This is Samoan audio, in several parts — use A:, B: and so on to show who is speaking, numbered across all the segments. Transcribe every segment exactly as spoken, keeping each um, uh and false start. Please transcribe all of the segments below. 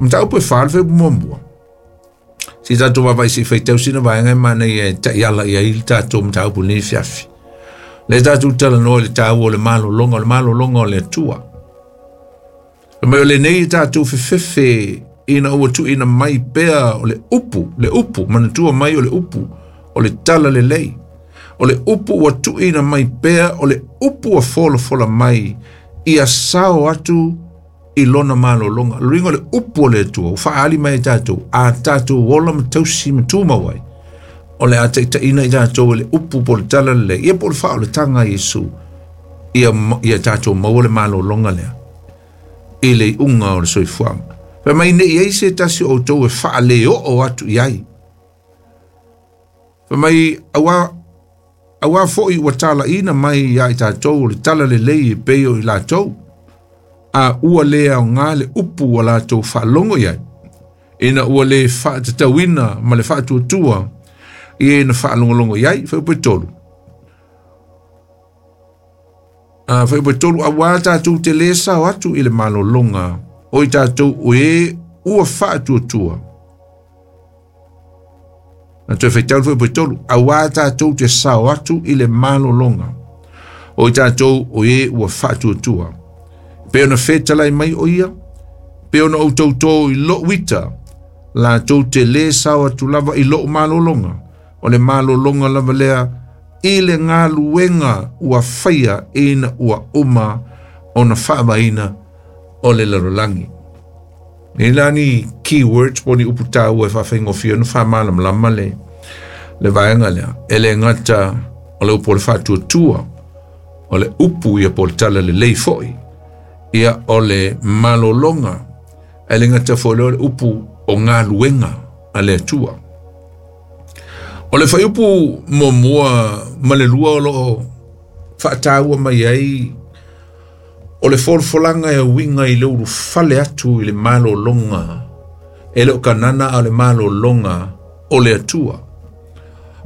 A: Mataupu e fa le fuaiupu muamua. Si tatou vaavaai se i faitau sina vaega e manaia e ta'iala i ai le tatou mataupu lenei afiafi. Le tatou talanoa i le taua o le malologa, o le malologa o le Atua. Mai o lenei tatou fefefe ina ua tuuina mai pea o le upu, le upu, manatua mai o le upu, o le tala lelei. O le upu ua tuuina mai pea, o le upu ua folafola mai, ia sao atu i lona malologa. O le uiga o le upu o le Atua, ua faaali mai e tatou, a tatou ola ma tausi ma tumau ai, o le a taitaiina i tatou e le upu po o le tala lelei, ia po o le faaolataga a Iesu, ia, ia tatou maua le malologa lea, i le iuga o le soifuaga. Fai mai ne i ai se tasi o outou e faaleoo atu i ai. Fai mai auā auā fo'i ua talaina mai ia i tatou o le tala lelei e pei o i latou, a ua le aogā le upu ua latou faalogo i ai, ina ua le faatatauina ma le faatuatua i e na faalogologo i ai. Fuaiupu e tolu. A fuaiupu e tolu, auā tatou te lē sao atu i le malologa o i tatou o e ua faatuatua. Na toe faitau le fuaiupu e tolu, auā tatou te sao atu i le malologa o i tatou o e ua faatuatua. Pe ona fetalai mai o ia, pe ona ou tautō i lo'u ita, latou te lē sao atu lava i lo'u malologa, o le malologa lava lea i le galuega ua faia ina ua uma ona faavaeina o le lalolagi. Nei la ni keywords po o ni upu taua e faafaigofie ona faamalamalama le le vaega lea. E le gata o le upu o le faatuatua, o le upu ia po o le tala lelei fo'i, ia o le malologa, ae le gata foi lea o le upu o galuega a le Atua. O le fuaiupu muamua ma le lua o loo faataua mai ai o le folafolaga e uiga i le ulufale atu i le malologa e le o kanana, a o le malologa o le Atua.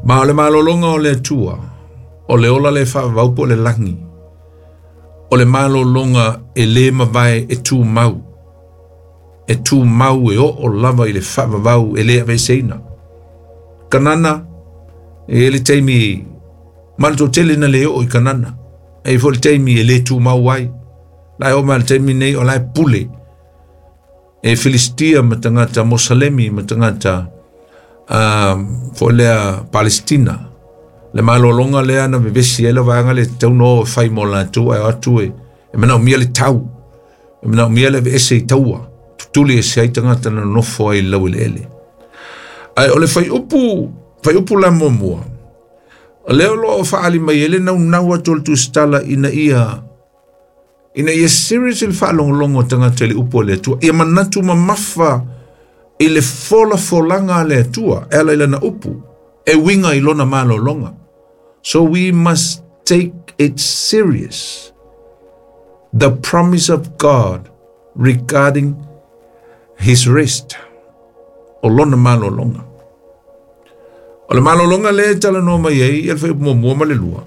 A: Ma o le malologa o le Atua, o le ola le faavavau po o le lagi, o le malologa e lē mavae, e tumau, e tumau e oo lava i le faavavau e lē aveeseina. Kanana e le taimi ma le toatele na le oo i Kanana, e foi le taimi e lē tumau ai. La e oo mai le taimi nei o la e pule e Filistia ma tagata Mosalemi ma tagata um, foi lea Palestina. Le malologa lea na vevesi ai le vaega le tatau na o e fai mo latou, ae o atu e e manaomia le tau, e manaomia le aveese i taua, tutuli ese ai tagata na nonofo ai i le laueleele. Ae o le fuaiupu fuaiupu la muamua, o lea o loo faaali mai ai le naunau atu o le tusitala ina ia ina ia serious le faalogologo o tagata i le upu a le Atua, ia manatu mamafa i le folafolaga a le Atua e ala i lana upu e uiga i lona malologa. So we must take it serious, the promise of God regarding his rest, o lona malologa. O le malologa lea e talanoa mai ai ia le fuaiupu muamua ma le lua,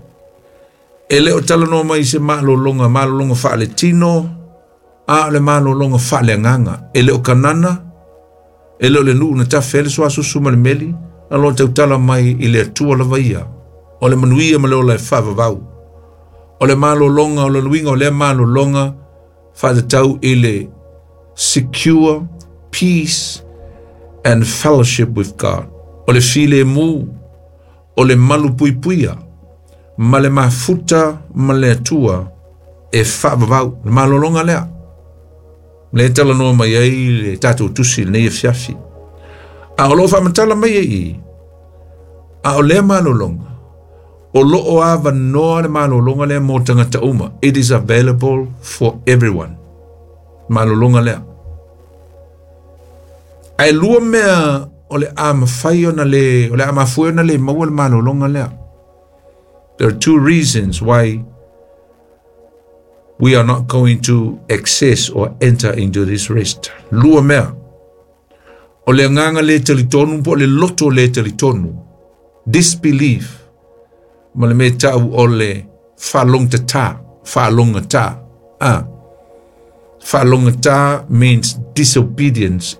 A: e le o talanoa mai i se malologa malologa faaletino, a o le malologa faaleagaga. E le o Kanana, e le o le nuu na tafe ai le suasusu ma le meli, na loa tautala mai i le Atua lava ia, o le manuia ma le ola e faavavau. O le malologa, o le luiga o lea malologa faatatau i le secure peace and fellowship with God. O le filemu, o le malu puipuia, ma le mafuta ma le Atua e faavavau. Le malologa lea, le talanoa mai ai le tatou tusi i lenei afiafi. A o loo faamatala mai ai i, a o lea malologa, o loo avanoa le malologa lea mo tagata uma. It is available for everyone. Malologa lea. Ae lua mea o le a mafai ona le, o le a mafua ona le maua le malologa lea. There are two reasons why we are not going to access or enter into this rest. Lua mea. O le agaga le talitonu po o le loto le talitonu. Disbelief. Ma le mea tau o le faalogotata, faalogata. Ah. Faalogata means disobedience.